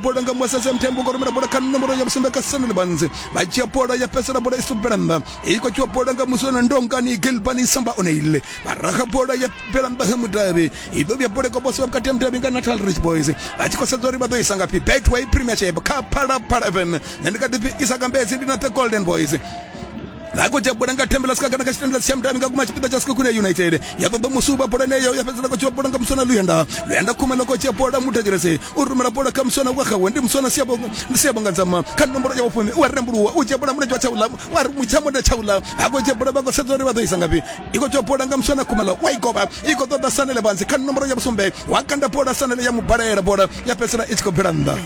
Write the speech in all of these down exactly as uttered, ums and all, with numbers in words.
Bola nga Mwasese Mthembu ngo rumela bola kha nomboro ya vhusumbe kha Sanele Banzi, vha dzhia bola ya fhedzisela bola i subela nnḓa. I khou dzhiwa bola nga Muswana Ndongani Gilbani Samba Oneile, vha raha bola ya bvela nnḓa ha mudavhi. I ḓo vhuya bola i khou posiwa vhukati ha mudavhi nga Natal Rich Boys, vha tshi khou sedza uri vha ḓo isa ngafhi. Betway Premiership kha Phalaphala F M, nṋe ndi kha ḓi pfi Isaka Mbedzi, ndi na The Golden Boys. Vha khou dzhia bola nga Thembela Sikakana kha tshitendela tsha mudavhi nga guma tshipiḓa tsha Sekhukhune United, ya ṱoḓa musuba bola eneyo ya fhedzisela khou dzhiwa bola nga Muswana Luyanda. Luyanda Khumalo khou dzhia bola, Muthetshelesi u rumela bola kha Muswana wa xawe, ndi Muswana Siyabonga, ndi Siyabonga Nzama kha nomboro ya vhufumi, u a rembuluwa u dzhia bola mulenzhe wa tshaula, wa ri mutshamonde tshaula. Ha khou dzhia bola, vha khou sedza uri vha ḓo isa ngafhi. I khou dzhia bola nga Muswana Khumalo, wa i govha, i khou ṱoḓa Sanele Banzi kha nomboro ya vhusumbe, wa kanda bola Sanele ya mubalela bola ya fhedzisela i tshi khou bvela nnḓa.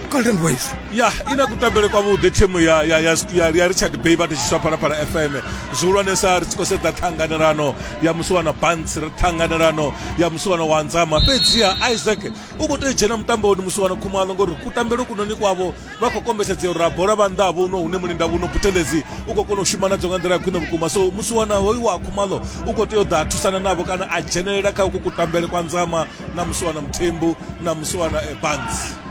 Golden Boys ya ina kutambele kwavhuḓi thimu ya ya ya ya, ya Richard Bay vha tshi Phalaphala F M, zwihulwanesa ri tshi khou sedza ṱhanganelano ya Muswana Banzi, ri ṱhanganelano ya Muswana wa Nzama. Fhedziha Isaac u khou tea u dzhena mutamboni Muswana Khumalo, ngori kutambele kunoni kwavho vha khou kombetshedzea uri bola vha nnḓa vho no hune mulinda vhuno Buthelezi u khou kona u shuma nadzo nga nḓila ya khwine vhukuma. So Muswana hoyu wa Khumalo u khou tea u ḓa thusana navho kana a dzhenelela kha uku kutambele kwa Nzama na Muswana Mthembu na Muswana Banzi.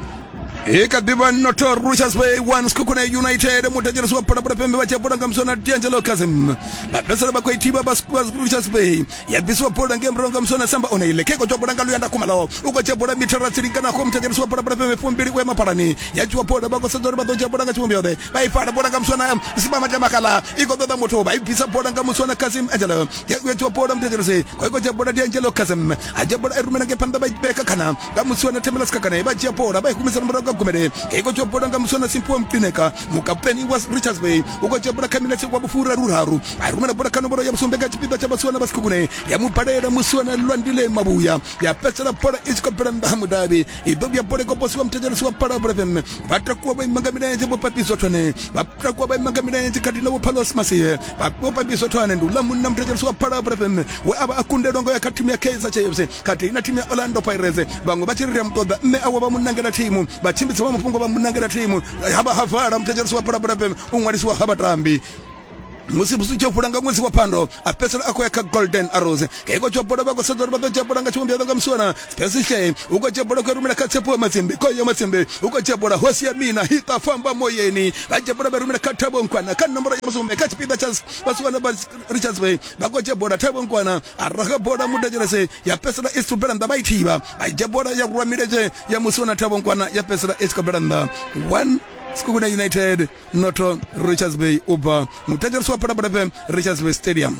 I kha ḓivha noto Richards Bay one Sekhukhune United. Muthetshelesi wa Phalaphala F M vha dzhia bola nga Muswana D'Angelo Kazim, vha fhedzisela vha khou i thivha vha Richards Bay, ya bvisiwa bola ngei murahu nga Muswana Samba Oneile. Khe khou dzhia bola nga Luyanda Khumalo, u khou dzhia bola mithara tsi linganaho muthetshelesi wa Phalaphala F M fumbili u ya maphalani, ya dzhiwa bola vha khou sedza uri vha ḓo dzhia bola nga tshivhumbeo ḓe, vha i fara bola nga Muswana Sibamate Makala, i khou ṱoḓa muthu, vha i bvisa bola nga Muswana Kazim Angelo, ya dzhiwa bola muthetshelesi khou khou dzhia bola D'Angelo Kazim, a dzhia bola i rumela ngei phanḓa vha i vheka khana nga Muswana Thembela Sikakane, vha dzhia bola vha i humisela murahu nga Gumede. I khou dzhia bola nga Muswana Simphiwe Mtineka, mukaputeni wa Richards Bay, u khou dzhia bola kha minetse wa vhufuraru raru, a rumela bola kha nomboro ya vhusumbe nga tshipiḓa tsha Vhasiwana vha Sekhukhune, ya mubalela Muswana Lwandile Mabuya, ya fhedzisela bola i tshi khou bvela nnḓa ha mudavhi. I ḓo vhuya bola i khou posiwa muthetshelesi wa Phalaphala F M, vha takuwa vha ima nga milenzhe vho Papiso Thwane, vha takuwa vha ima nga milenzhe khathihi na vho Phalos Masie. Vho Papiso Thwane ndi uḽa munna muthetshelesi wa Phalaphala F M we a vha a kundelwa ngo ya kha thimu ya Kaizer Chiefs khathihi na thimu ya Orlando Pirates. Vhaṅwe vha tshi ri ri a mu ṱoḓa, mme awe vha mu nangela thimu, vhatshimbidzi vha mafhungo vha mu nangela thimu, ha vha ha vala muthetshelesi wa Phalaphala F M u ṅwalisiwa ha vhatambi. Musi musi tshi fula nga ṅwedzi wa Phando a fhedzisela a khou ya kha Golden Arrows. Khe khou dzhia bola vha khou sedza uri vha ḓo dzhia bola nga tshivhumbeo nga Muswana Spesihle, u khou dzhia bola khou rumela kha Tshepo Matsimbi, Koyo Matsimbi u khou dzhia bola, hosi ya mina hita famba moyeni, vha dzhia bola vha rumela kha Thabo Nkwana kha nomboro ya vhusumbe kha tshipiḓa tsha Vhasiwana vha Richards Bay, vha khou dzhia bola Thabo Nkwana a raha bola muthetshelesi ya fhedzisela i tshi bvela nnḓa, vha i thivha, vha dzhia bola ya rwa milenzhe ya Muswana Thabo Nkwana ya fhedzisela i tshi khou bvela nnḓa. One Sekhukhune United noto Richards Bay u bva muthetshelesi wa Phalaphala F M Richards Bay Stadium.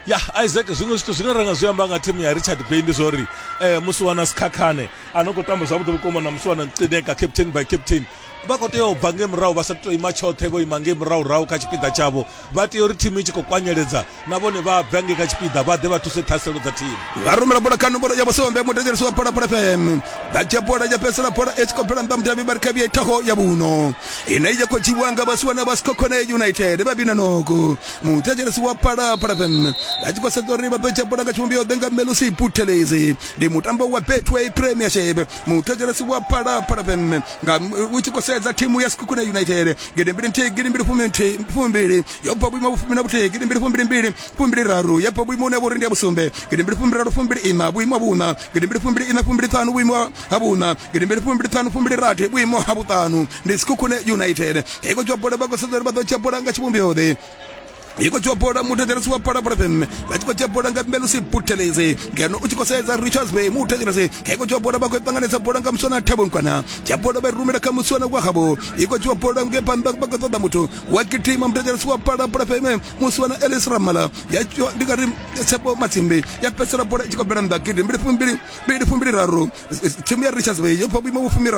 Ya Isaac, zwiṅwe zwithu zwine ra nga zwi amba nga thimu ya Richard Bay ndi zwori eh, Muswana Sikhakhane a no khou tamba zwavhuḓi vhukuma na Muswana Nqineka, captain by captain, vha khou tea u bva ngei murahu, vha sa tou ima tshoṱhe, vho ima ngei murahu rahu kha tshipiḓa tshavho. Vha tea uri thimu i tshi khou kwanyeledza na vhone vha bve ngei kha tshipiḓa vha ḓe vha thuse ṱhaselo dza thimu. Vha rumela bola kha nomboro ya vhusumbe muthetshelesi wa Phalaphala F M, vha dzhia bola ya fhedzisela bola i tshi khou bvela nnḓa mudavhi, vha ri kha vhuya thaho ya vhuno ine ya khou dzhiwa nga Vhasiwana vha Sekhukhune United vha vhina noko. Muthetshelesi wa Phalaphala F M vha tshi khou sedza uri vha ḓo dzhia bola nga tshivhumbeo ḓe nga Melusi Buthelezi, ndi mutambo wa Betway Premiership. Muthetshelesi wa Phalaphala F M nga u tshi khou sedza thimu ya Sekhukhune United gidi mbili nthihi gidi mbili fumi nthihi fumbili yo bva vhuimo vhufumi na vhuthihi gidi mbili fumbili mbili fumbili raru ya bva vhuimo hune vho ri ndi ya vhusumbe gidi mbili fumbili raru fumbili ina vhuimo ha vhuṋa gidi mbili fumbili ina fumbili ṱhanu vhuimo ha vhuṋa gidi mbili fumbili ṱhanu fumbili rathi vhuimo ha vhuṱanu. Ndi Sekhukhune United i khou dzhia bola, vha khou sedza uri vha ḓo dzhia bola nga tshivhumbeo ḓe. I khou dzhia bola muthetshelesi wa Phalaphala F M vha tshi khou dzhia bola nga Melusi Buthelezi, ngeno u tshi khou sedza Richards Bay muthetshelesi i khou dzhia bola, vha khou ṱanganedza bola nga Muswana Thabo Nkwana, dzhia bola vha i rumela kha Muswana wa havho, i khou dzhia bola ngei phanḓa vha khou ṱoḓa muthu wa gidima muthetshelesi wa Phalaphala F M Muswana Ellis Ramala, ya dzhiwa ndi nga ri Tshepo Matsimbi, ya fhedzisela bola i tshi khou bvela nnḓa gidi mbili fumbili mbili fumbili raru. Thimu ya Richards Bay yo bva vhuimo vhufumi